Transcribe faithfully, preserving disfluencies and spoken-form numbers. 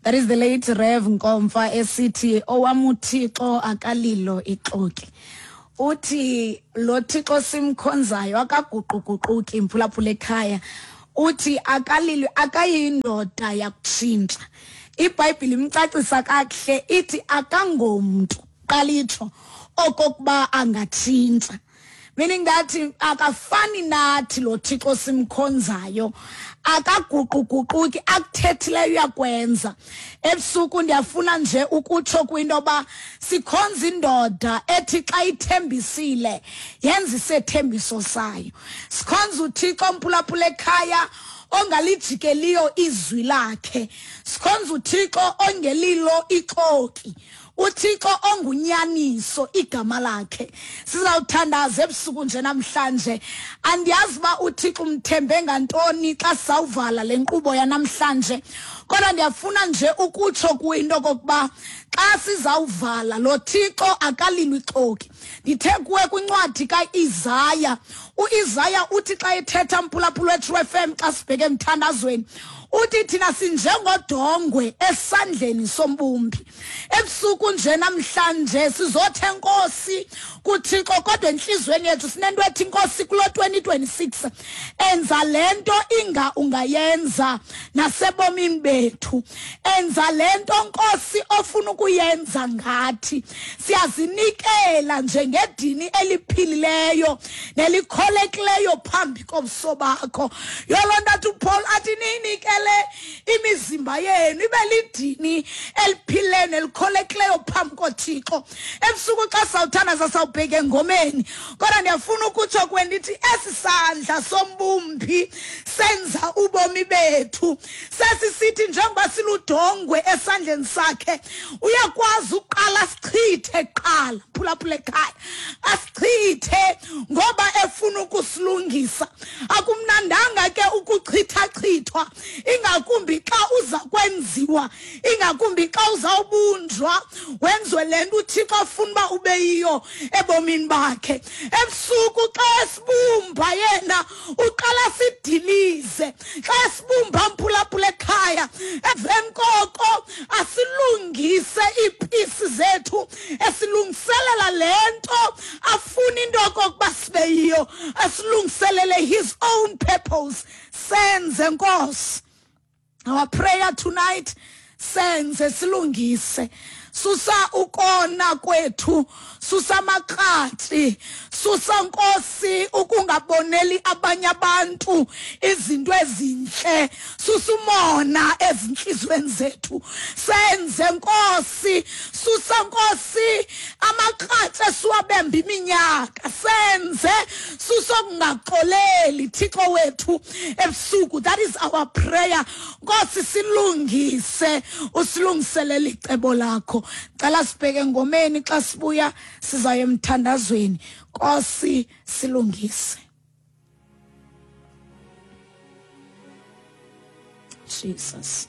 That is the late Rev Nkomfa esithi owam uThixo akalilo ixoki. Uthi lo Thixo simkhonzayo akaguquguquki, mphulaphula ekhaya. Uthi akalilo, akayindoda yakutshintsha. IBhayibhile imcacisa kakuhle, ithi akangomntu qalitsho okokuba angatshintsha. Meaning that akafani nathi lo Thixo simkhonzayo, akaguquguquki, akuthethileyo uyakwenza. Ebusuku ndiyafuna nje ukutsho kwinto yoba sikhonza indoda ethi xa ithembisile yenza isethembiso sayo. Sikhonza uThixo, mphulaphula ekhaya, ongalijikeliyo izwi lakhe. Sikhonza uThixo ongelilo ixoki, uThixo ongunyaniso igama lakhe. Sizawuthandaza ebusuku nje namhlanje. Andiyazi uba uThixo umthembe ngantoni xa sizawuvala le nkqubo yanamhlanje, kodwa ndiyafuna nje ukutsho kwinto okokuba xa sizawuvala, lo Thixo akalilo ixoki. Ndithe kuwe kwincwadi kaIsaya, uIsaya uthi xa ethetha, mphulaphula weTrue F M, xa sibheke emthandazweni, uthi thina sinjengodongwe esandleni sombumbi. Ebusuku nje namhlanje sizothe Nkosi kuThixo, kodwa enhliziyweni yethu sinento ethi, Nkosi, kulo twenty twenty-six enza lento inga ungayenza nasebomini bethu, enza lento, Nkosi, ofuna ukuyenza ngathi. Siyazinikela njengedini eliphilileyo nelikholekileyo phambi kobuso bakho. Yoloo nto athi uPaul, athi niyinikele imizimba yenu ibe lidini eliphilileyo nelikholekileyo phambi koThixo. Ebusuku xa sawuthandaza sawubheka engomeni, kodwa ndiyafuna ukutsho kuwe ndithi esi sandla sombumbi senza ubomi bethu sesisithi njengoba siludongwe esandleni sakhe, uyakwazi uqala sichithe kuqala, phulaphula ekhaya, asichithe ngoba efuna ukusilungisa. Akumnandanga ke ukuchithachithwa, ingakumbi xa uza kwenziwa, ingakumbi xa uzawubunjwa wenziwe le nto uThixo afuna uba ube yiyo ebomini bakhe. Ebusuku xa esibumba yena uqala sidilize. Xa esibumba, mphulaphula ekhaya, emveni koko asilungise iipisi zethu, esilungiselela le nto afuna into okokuba sibe yiyo, asilungiselele his own purpose. Senze, Nkosi. Our prayer tonight: senze, silungise, susa ukona kwethu, susa amakratshi, susa, Nkosi, ukungaboneli abanye abantu izinto ezinhle, susa umona ezinhlizweni zethu. Senze, Nkosi. Susa, Nkosi, amakratshi esiwabemba iminyaka. Senze, susa ukungaxoleli, Thixo wethu. Ebusuku, that is our prayer. Nkosi, silungise, usilungiselele icebo lakho. Cela sibheke engomeni, xa sibuya sizayo emthandazweni. Nkosi, silungise. Jesus.